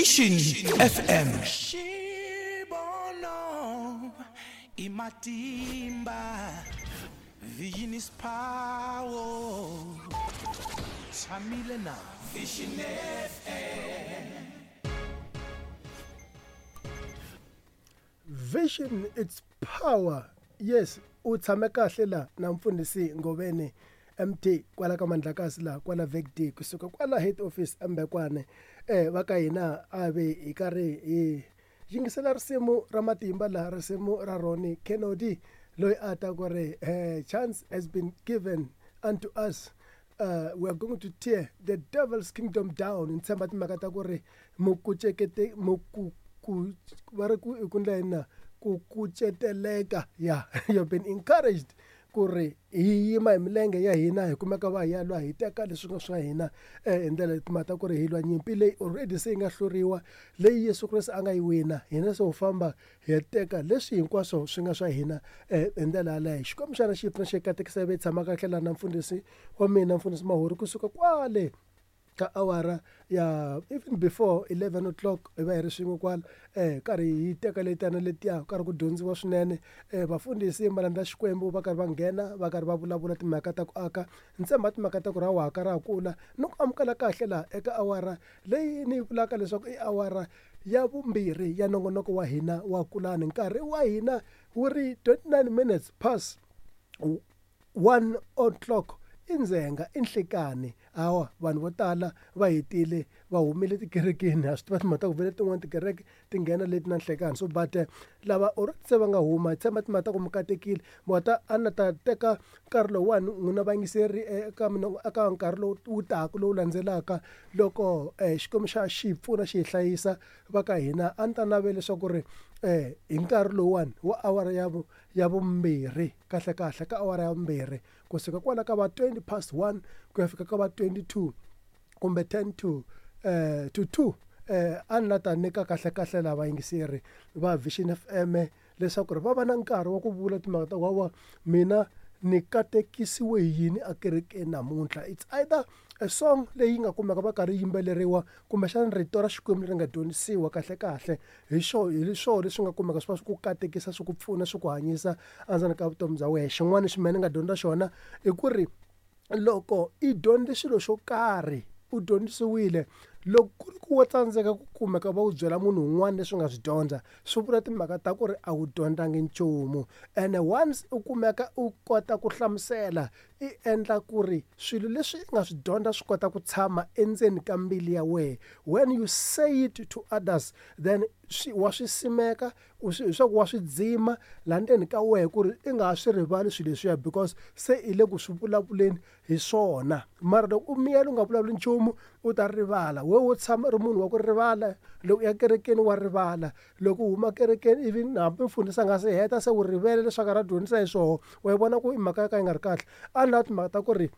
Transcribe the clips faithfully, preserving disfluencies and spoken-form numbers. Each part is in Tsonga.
Vision F M. Xibono i matimba, vision is power. Tshamile na Vision F M. Vision it's power. Yes, u tshame kahle la na mfundhisi Ngoveni M T kwala ka Mandlakazi la kwala V D kusuka kwala head office Mbekwane. Eh va ka hina a ve hi karhi hi yingisela risimu ra matimba la risimu ra Ronnie Kennedy loyi a ta ku ri eh chance has been given unto us. Uh, we are going to tear the devil's kingdom down. Ni tshemba timhaka ta ku ri mukucekete muku ku va ri ku i ku ndla yini na ku kuceteleka. Yeah, you've been encouraged ku ri hi yima hi milenge ya hina hi kumeka va hi ya lwa hi teka leswi nga swa hina eh hi ndlela timhaka ta ku ri hi lwa nyimpi leyi already se yi nga hluriwa leyi Yesu Kreste a nga yi wina hina se ho famba hi ya teka leswi hinkwaswo swi nga swa hina eh hi ndlela yaleyo. Xikwembu xana xi pfuna xi katekisa ve tshama kahle laha na mfundhisi wa mina mfundhisi Mahuri kusuka kwale ka awara ya even before eleven o'clock hi va hi ri swin'we kwala eh karhi hi teka letana letiya karhi ku dyondziwa swinene eh vafundhisi malandza Xikwembu va karhi va nghena va karhi va vulavula timhaka ta ku aka ni tshemba timhaka ta ku ra waka ra kula ni ku amukela kahle laha eka awara leyi ni yi vulaka leswaku i awara ya vumbirhi ya nongonoko wa hina wa Kulani. Nkarhi wa hina wu ri twenty-nine minutes past one o'clock i ndzhenga i nhlikani. Hawa vanhu vo tala va hetile va humile tikerekeni ha swi tiva timhaka ta ku vele tin'wani tikereke ti nghena leti na nhlekani so but lava already se va nga huma hi tshemba timhaka ta ku mi katekile wa ta a na ta teka nkarhi lowuwani n'wina vayingiseri eka mina eka nkarhi lowu wu taka lowu landzelaka loko Xikwembu xa xi pfuna xi hi hlayisa va ka hina a ni ta navela leswaku ri eh hi nkarhi lowuwani wa awara ya vu ya vumbirhi kahle kahle ka awara ya vumbirhi kusuka kwala ka va twenty past one ku ya fika ka va twenty-two kumbe ten to eh to two eh a ni la ta nyika kahle kahle lava vayingiseri va Vision F M leswaku ri va va na nkarhi wa ku vula timhaka ta wa mina ni katekisiwe hi yini ekerekeni namuntlha. It's either a song leyi nga kumeka va karhi yimbeleriwa kumbexana rito ra Xikwembu leri nga dyondzisiwa kahle kahle hi xo hi swona leswi nga kumeka swi va swi ku katekisa swi ku pfuna swi ku hanyisa endzeni ka vutomi bya wena. Xin'wana lexi mina ni nga dyondza xona i ku ri loko i dyondze xilo xo karhi u dyondzisiwile loko ku ri ku wa tsandzeka ku kumeka va u byela munhu un'wana leswi nga swi dyondza swi vula timhaka ta ku ri a wu dyondzangi nchumu ene once u kumeka u kota ku hlamusela i endla ku ri swilo leswi i nga swi dyondza swi kota ku tshama endzeni ka mbilu ya wena. When you say it to others then swi wa swi simeka u swi leswaku wa swi dzima laha ndzeni ka wena ku ri i nga ha swi rivali swilo leswiya because se i le ku swi vulavuleni hi swona. Mara loko u miyela u nga vulavuli nchumu u ta rivala we wo tshama ri munhu wa ku rivala loko u ya kerekeni wa rivala loko u huma kerekeni even hambi mfundhisi a nga se heta se u rivele leswaku ra dyondzisa hi swoho wa yi vona ku i mhaka ya ka yi nga ri kahle. A ni lava timhaka ta ku ri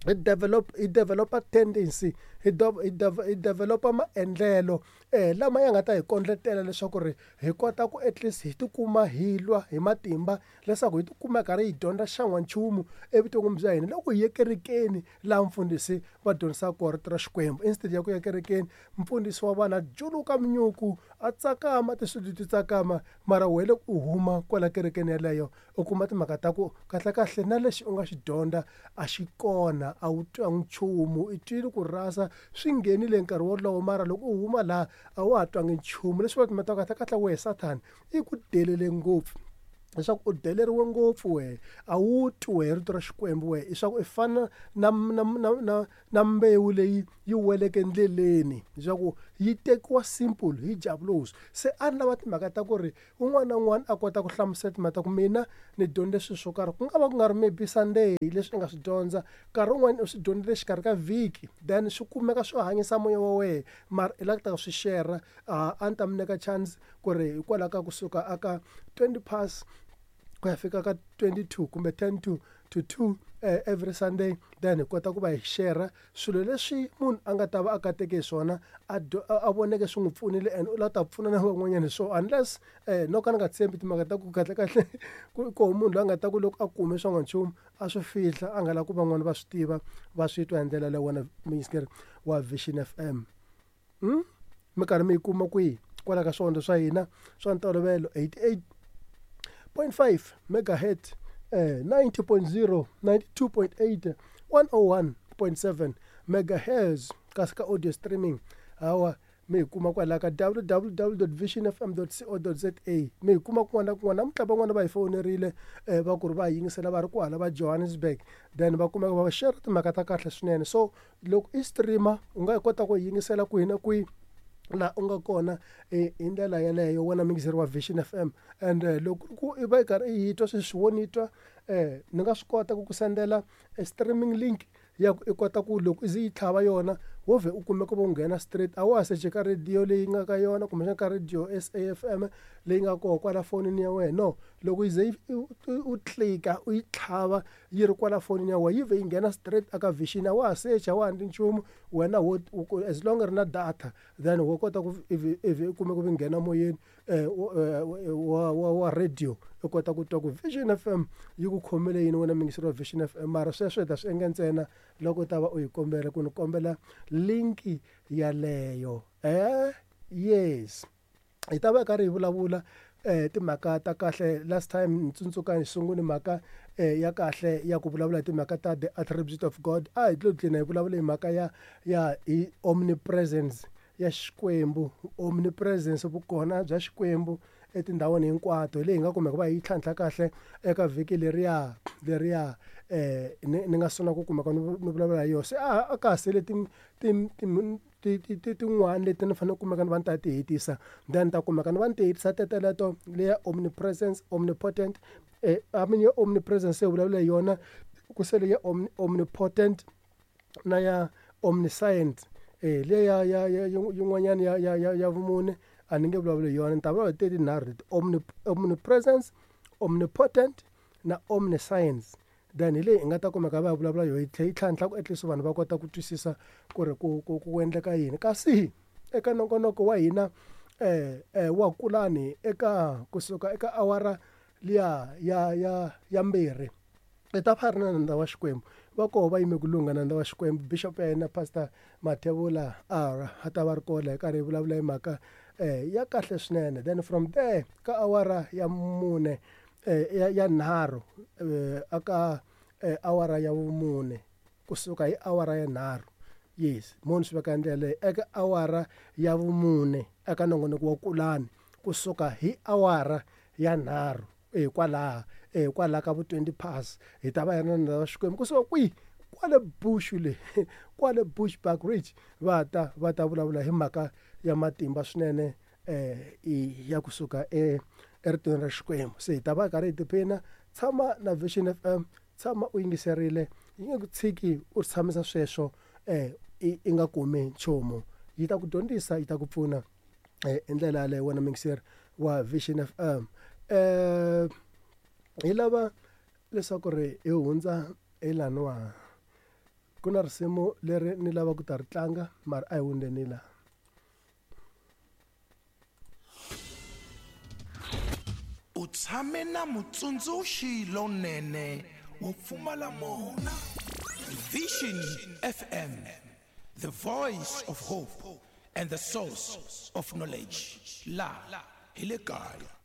hi develop hi developa tendency hi hi hi developa maendlelo eh lama ya nga ta hi kondletela leswaku ri hi kota ku at least hi tikuma hi lwa hi matimba leswaku hi tikuma karhi hi dyondza xan'wanchumu evuton'wini bya hina loko hi ye kerekeni laha mfundhisi va dyondzisaka kona rito ra Xikwembu instead ya ku ya kerekeni mfundhisi wa vana juluka minyuku a tsakama tiswilo ti tsakama mara wena loko u huma kwala kerekeni yeleyo u kuma timhaka ta ku kahle kahle na lexi u nga xi dyondza a xi kona a wu twangi nchumu i twile ku rasa swi nghenile nkarhi wolowo mara loko u huma laha a wa ha twangi nchumu leswi va timhaka ta kahle kahle wehe Sathana i ku delele ngopfu leswaku u deleriwe ngopfu wehe a wu twi wehe rito ra Xikwembu wehe leswaku i fana na na na na na mbewu leyi yi weleke endleleni leswaku yi tekiwa simple hi diablos. Se a ni lava timhaka ta ku ri un'wana na un'wana a kota ku hlamusela timhaka ta ku mina ni dyondze swilo swo karhi ku nga va ku nga ri maybe Sunday leswi i nga swi dyondza nkarhi wun'wani u swi dyondzile exikarhi ka vhiki then swi kumeka swi hanyisa moya wa wena mara i lava ku ta swi share a ni ta mi nyika chance ku ri hikwalaho ka kusuka aka twenty past ku ya fika ka twenty-two kumbe ten to to two eh, every Sunday then hi kota ku va hi share swilo leswi munhu a nga ta va a kateke hi swona a a voneke swi n'wi pfunile and u lava ta pfuna na van'wanyana hi swona unless eh no ka ni nga tshembi timhaka ta ku kahle kahle ku koho munhu loyi a nga ta ku loko a kume swa n'wanchumu a swi fihla a nga lavi ku van'wani va swi tiva va swi twa hi ndlela leyi wena muyingiseri wa Vision F M. Hmm? mi karhi mi yi kuma kwihi kwala ka swihondzo swa hina swa ntolovelo eighty-eight point five megahertz, eh, ninety point zero, ninety-two point eight, one oh one point seven megahertz. Kasi ka audio streaming hawa mi hi kuma kwala ka w w w dot vision f m dot co dot z a. Mi hi kuma kun'wana na kun'wana. Namuntlha van'wana va hi fonerile, eh, va ku ri va hi yingisela va ri kwala va Johannesburg, then va kumeka va share timhaka ta kahle swinene. So loko i streamer u nga kota ku yingisela kwihi na kwihi laha u nga kona hi ndlela yeleyo wena muyingiseri wa Vision F M. And loko ku i va i karhi i yi twa sweswi wo ni twa, eh, ni nga swi kota ku ku sendela a streaming link ya ku i kota ku loko i ze yi tlhava yona wo vhe u kumeka u nghena straight, a wa ha seche ka radio leyi nga ka yona kumbexana ka radio S A F M leyi nga kona kwala fonini ya wena. No, loko i ze u tlika u yi tlhava yi ri kwala fonini ya wena yi vhe yi nghena straight aka Vision, a wa ha secha, a wa ha endli nchumu wena, wo as long ri na data then wo kota ku ivi ivi u kumeka u nghena moyeni wa wa wa radio u kota ku twa ku Vision F M yi ku khomele yini wena muyingiseri wa Vision F M. Mara sweswo hi ta swi endla ntsena loko u ta va u yi kombela ku ni kombela linki yaleyo. Eh, yes, hi ta va karhi hi vulavula eh timhaka ta kahle. Last time ni tsundzuka hi sungule mhaka eh ya kahle ya ku vulavula hi timhaka ta the attribute of God. A hi tlo dlina hi vulavula hi mhaka ya ya hi omnipresence ya Xikwembu, omnipresence, vukona bya Xikwembu etindhawini hinkwato, leyi hi nga kumeka va hi tlhantlha kahle eka vhiki leriya leriya eh ni ni nga sungula ku kumeka ni vulavula hi yona. Se a a ka ha sele ti ti ti ti ti tin'wana leti ni fanele ku kumeka ni va ni ta ti hetisa, then ni ta kumeka ni va ni ti hetisa teteleto leya omnipresence, omnipotent. Eh, I mean ya omnipresence se vulavula hi yona, ku sele ya omnipotent na ya omniscient. Eh, leya ya ya yin'wanyana ya ya ya ya vumune a ni nge vulavuli hi yona, ni ta vulavula hi ti tinharhu leti: omnipresence, omnipotent na omniscience. Then hi leyi hi nga ta kumeka va vulavula yona, yi tlhela yi tlhantlha ku at least vanhu va kota ku twisisa ku ri ku ku ku endleka yini. Kasi eka nongonoko wa hina eh eh wa Kulani eka kusuka eka awara liya ya ya ya mbirhi hi ta va ri na nandza wa Xikwembu. Va koho va yime ku lungha nandza wa Xikwembu, Bishop ya hina Pastor Mathebula R a ta va ri kona hi karhi hi vulavula hi mhaka eh ya kahle swinene. Then from there ka awara ya mune eh ya ya nharhu eh aka awara ya vumune kusuka hi awara ya nharhu, yes, muni swi veka ndlela leyi eka awara ya vumune eka nongonoko wa Kulani kusuka hi awara ya nharhu eh kwalaha eh kwala ka vu twenty past hi ta va hi ri na nandza wa Xikwembu kusuka kwihi kwale Bush le kwale Bushbuck Ridge va ta va ta vulavula hi mhaka ya matimba swinene eh ya kusuka e eritweni ra Xikwembu. Se hi ta va karhi hi tiphina. Tshama na Vision F M, tshama u yingiserile, yi nge ku tshiki u tshamisa sweswo eh i nga kumi nchumu. Yi ta ku dyondzisa, yi ta ku pfuna eh hi ndlela yaleyo wena muyingiseri wa Vision F M. Eh hi lava leswaku ri hi hundza hi laniwa ku na risimu leri ni lava ku ta ri tlanga, mara a hi hundzeni laha. U tshame na mutsundzuxi lonene wo pfumala mona. Vision F M, the voice of hope and the source of knowledge. La hi le kaya.